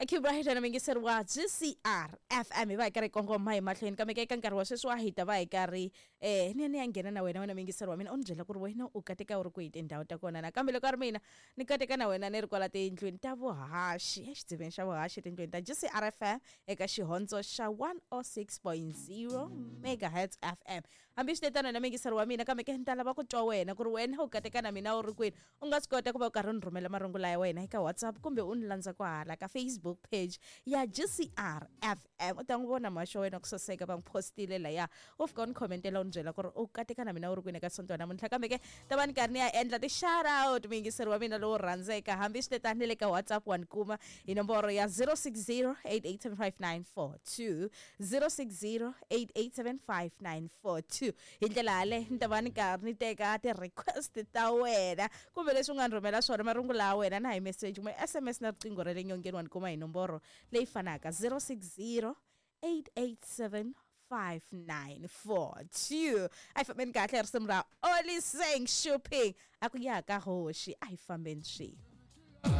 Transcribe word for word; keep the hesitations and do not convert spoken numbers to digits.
Keep right na mingiseri wa G C R F M, hi va hi karhi hi kongoma hi mahlweni, kambe ka eka nkarhi wa sweswi wa hi ta va hi karhi eh ni ya ni ya nghena na wena, wena mingiseri wa mina, u ni byela ku ri wena u kateka u ri kwihi tindhawu ta kona. Nakambe loko a ri mina ni kateka na wena ni ri kwala tindlwini ta vuhaxi, exidziveni xa vuhaxi, tindlwini ta G C R F M eka xihondzo xa one oh six point zero megahertz F M. Hambi swi tetano na mingiseri wa mina, kambe ke ni ta lava ku twa wena ku ri wena u kateka na mina u ri kwini. U nga swi kota ku va u karhi u ni rhumela marungula ya wena eka WhatsApp kumbe u ni landza kwahala ka Facebook page ya G C R F M, u ta n'wi vona muhaxi wa wena ku saseka va n'wi postile laya. U fika u ni commentela, u ni byela ku ri u kateka na mina u ri kwini eka sonto wa namuntlha. Kambe ke ta va ni karhi ni ya endla ti-shout out, muyingiseri wa mina lowo rhandzeka. Hambi swi tetani, ni le ka WhatsApp wa ni kuma hi nomboro ya zero six zero eight eight seven five nine four two, zero six zero eight eight seven five nine four two. Hi ndlela yale ni ta va ni karhi ni teka ti-request ta wena kumbe leswi u nga ni rhumela swona, marungula ya wena na hi message kumbe S M S na riqingho ra le nyongeni, wa ni kuma hi nomboro leyi fanaka, zero six zero eight eight seven five nine four two. A hi fambeni kahle, risimu ra Oliseng Shopping, a ku ya ka hoxi, a hi fambeni swin'we.